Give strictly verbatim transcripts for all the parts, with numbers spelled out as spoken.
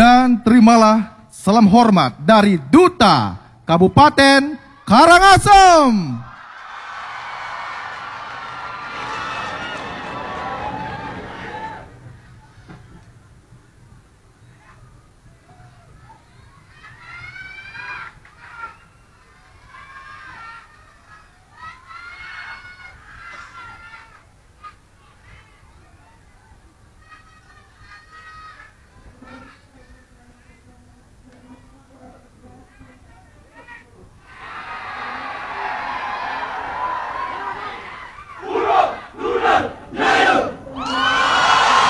Dan terimalah salam hormat dari Duta Kabupaten Karangasem.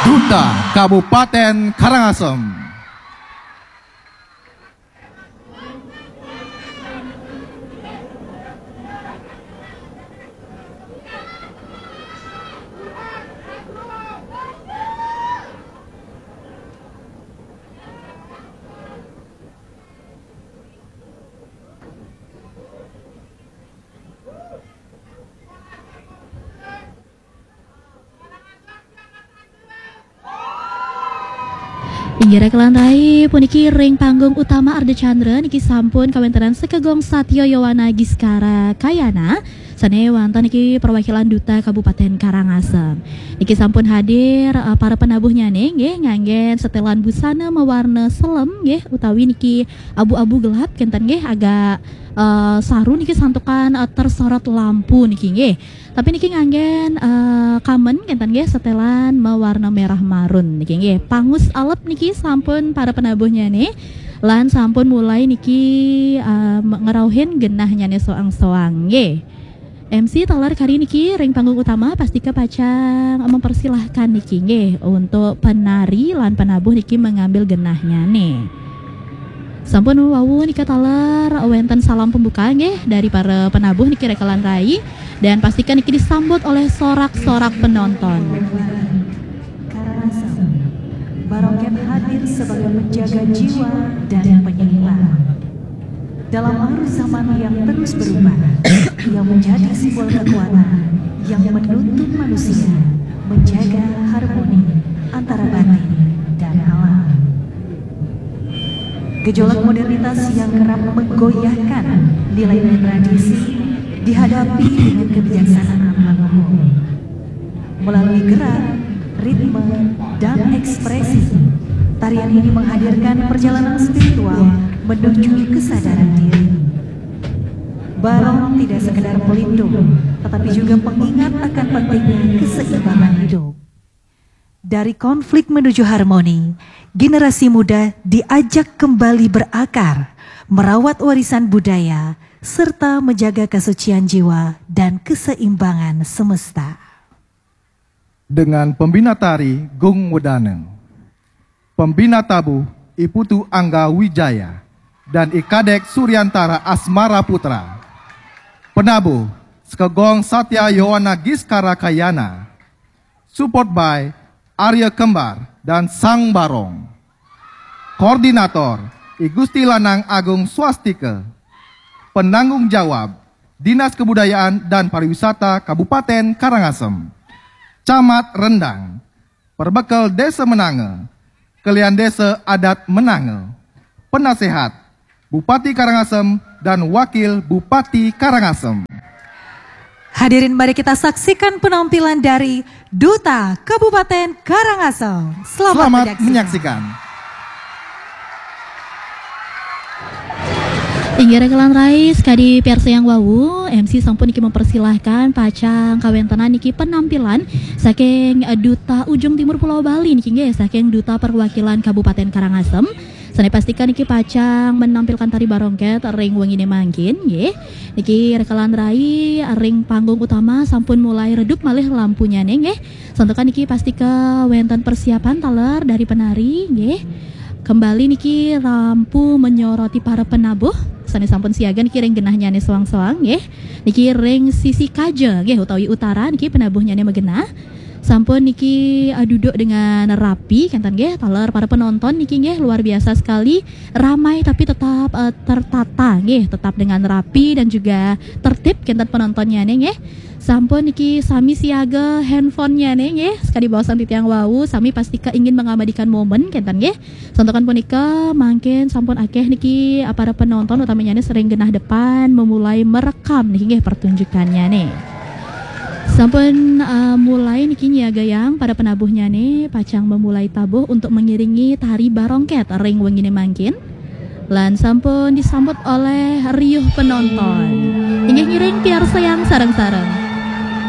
Duta Kabupaten Karangasem. Inggih rekelan rai, puniki ring panggung utama Ardha Candra niki sampun kawéntenan Sekegong Satya Yowana Giskara Kayana sané wantah niki perwakilan Duta Kabupaten Karangasem. Niki sampun hadir, eh, para penabuhnyané nggih, nganggén setelan busana mawarna selem nggih, utawi niki abu-abu gelap kénten nggih, agak, eh, saru niki santukan, eh, tersorot lampu niki nggih. Tapi niki nganggén, eh, kamen kénten nggih, setelan mawarna merah marun niki nggih. Pangus alep niki sampun para penabuhnyané lan sampun mulai niki, eh, me-, ngrauhin genahnyané soang-soang nggih. M C taler kari niki ring panggung utama, pastika pacang mempersilahkan niki nggih untuk penari lan penabuh niki mengambil genahnyané. Sampun wau nika taler wénten salam pembuka nggih dari para penabuh niki rekelan rai, dan pastikan niki disambut oleh sorak-sorak penonton. Karangasem, Barongket hadir sebagai penjaga jiwa dan penyeimbang. Dalam arus zaman yang terus berubah, ia menjadi simbol kekuatan yang menuntun manusia menjaga harmoni antara batin dan alam. Gejolak modernitas yang kerap menggoyahkan nilai-nilai tradisi dihadapi dengan kebijaksanaan leluhur. Melalui gerak, ritme, dan ekspresi, tarian ini menghadirkan perjalanan spiritual menuju kesadaran diri. Barong tidak sekedar pelindung, tetapi juga pengingat akan pentingnya keseimbangan hidup. Dari konflik menuju harmoni, generasi muda diajak kembali berakar, merawat warisan budaya, serta menjaga kesucian jiwa dan keseimbangan semesta. Dengan pembina tari Gung Wedana, pembina tabuh I Putu Angga Wijaya, dan I Kadek Suryantara Asmara Putra. Penabuh, Sekegong Satya Yowana Giskara Kayana. Support by Arya Kembar dan Sang Barong. Koordinator, I Gusti Lanang Agung Swastika. Penanggung jawab, Dinas Kebudayaan dan Pariwisata Kabupaten Karangasem. Camat Rendang, perbekel Desa Menanga, kelian Desa Adat Menanga. Penasehat, Bupati Karangasem dan Wakil Bupati Karangasem. Hadirin, mari kita saksikan penampilan dari Duta Kabupaten Karangasem. Selamat Selamat menyaksikan. menyaksikan. Inggih rekelan rai, sekadi piarsa yang wau, M C sampun niki mempersilahkan pacang kawéntenan niki penampilan saking, eh, Duta Ujung Timur Pulau Bali niki nggih, saking Duta Perwakilan Kabupaten Karangasem. Sané pastikan niki pacang menampilkan tari barongket ring wenginé mangkin nggih. Niki rekelan rai, ring panggung utama sampun mulai redup malih lampunyané nggih. Santukan niki pastika wénten persiapan taler dari penari nggih. Kembali niki lampu menyoroti para penabuh sané sampun siaga niki ring genahnyané soang-soang nggih. Niki ring sisi kaja nggih utawi utara niki penabuhnyané magenah. Sampun niki, eh, duduk dengan rapi, kénten nggih, taler para penonton niki nggih, luar biasa sekali, ramai tapi tetap, eh, tertata nggih, tetap dengan rapi dan juga tertib kénten penontonnya nih nggih. Sampun niki sami siaga handphonenya nih nggih, sakadi baosan titiang wau, sami pastika ingin mengabadikan momen kenten nggih. Santukan punika mangkin sampun akeh niki, ah, para penonton utamanya nih sering genah depan memulai merekam nih nggih pertunjukannya nih. Sampun, ah, mulai niki nyiagayang para penabuhnya nih pacang memulai tabuh untuk mengiringi tari barongket ring wengine mangkin. Lan sampun disambut oleh riuh penonton. Inggih ngiring piarsayang sareng-sareng.